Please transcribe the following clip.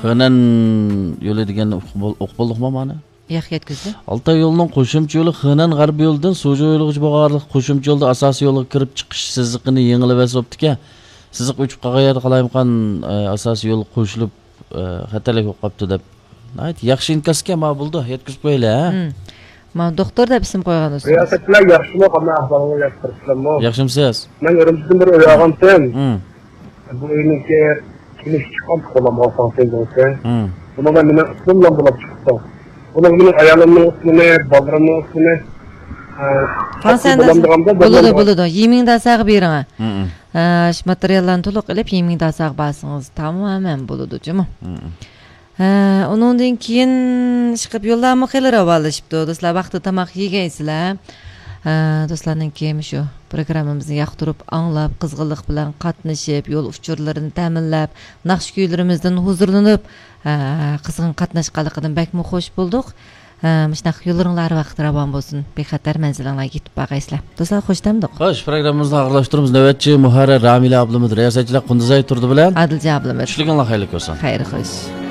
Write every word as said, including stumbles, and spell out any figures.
خېنەن يولى دېگەننى ئۇقۇپ بول-، ئۇقۇپ بولدۇقمۇ مانا؟ ياق، يەتكۈزدى. ئالتاي يولىنىڭ قوشۇمچە يولى خېنەن غەربىي يولىدىن سۇجۇ يولىغىچە بولغانلىق قوشۇمچە يولدا ئاساسىي يولغا كىرىپ چىقىش سىزىقىنى يېڭىلىۋەتسە بوپتىكەن. سىزىق ئۆچۈپ قالغان يەردە قالايمىقان، ئە، ئاساسىي يول قوشۇلۇپ، ئە، خەتەرلىك بولۇپ قاپتۇ دەپ. ناھايىتى ياخشى ئىنكاسكەن، مانا بولىدۇ، يەتكۈزۈپ قويايلى، ھە؟ مم. مانا دوختۇر دەپ ئىسىم قويغان دوستىمىز. رىياسەتچىلەر ياخشىمۇ؟ قانداق ئەھۋالىڭلار؟ ياخشى تۇرۇپسىلەرمۇ؟ ياخشىمۇسىز؟ مەن ئۈرۈمچىدىن بىر ئۆي ئالغانتىم. مم. بۇ ئۆينىڭكى كىنىشكا چىققان، قولامغا ئالساڭ سېزىڭسەن. مم. بۇنىڭدا مېنىڭ ئىسمىم بىلەن بولۇپ چىقىپتۇ. بۇنىڭ مېنىڭ ئايالىمنىڭ ئىسمىنى، بالىلىرىمنىڭ ئىسمىنى، ئە، قان سەندە بولامدىغاندا بولىدۇ، بولىدۇ. يىمىڭداساغا بېرىڭە. مم. ئە، شۇ ماتېرىياللارنى تولۇق ئېلىپ، يىمىڭداساغا بارسىڭىز تامامەن بولىدۇ جۇمۇ. مم. ھە، ئۇنىڭدىن كېيىن ئىشقىلىپ يوللارمۇ خېلى راۋانلىشىپتۇ. دوستلار، ۋاقتىدا تاماق يېگەيسىلەر. ھە، دوستلارنىڭكى مۇشۇ پروگراممىمىزنى ياقتۇرۇپ، ئاڭلاپ، قىزغىنلىق بىلەن قاتنىشىپ، يول ئۇچۇرلىرىنى تەمىنلەپ، ناخشا كۈيلىرىمىزدىن ھۇزۇرلىنىپ، ھە، قىزغىن قاتناشقانلىقىدىن بەكمۇ خوش بولدۇق. ھە، مۇشۇنداق يوللىرىڭلار ھەر ۋاقىت راۋان بولسۇن. بىخەتەر مەنزىلىڭلارغا يېتىپ بارغايسىلەر. دوستلار، خوش دەمدۇق. خوش، پروگراممىمىزنى ئاخىرلاشتۇرىمىز. نۆۋەتچى مۇھەررىر رامىلە ئابلىمىت، رىياسەتچىلەر قۇندۇزئاي تۇردى بىلەن ئادىلجان ئابلىمىت. چۈشلۈكۈڭلار خەيرلىك بولسۇن. خەير خوش.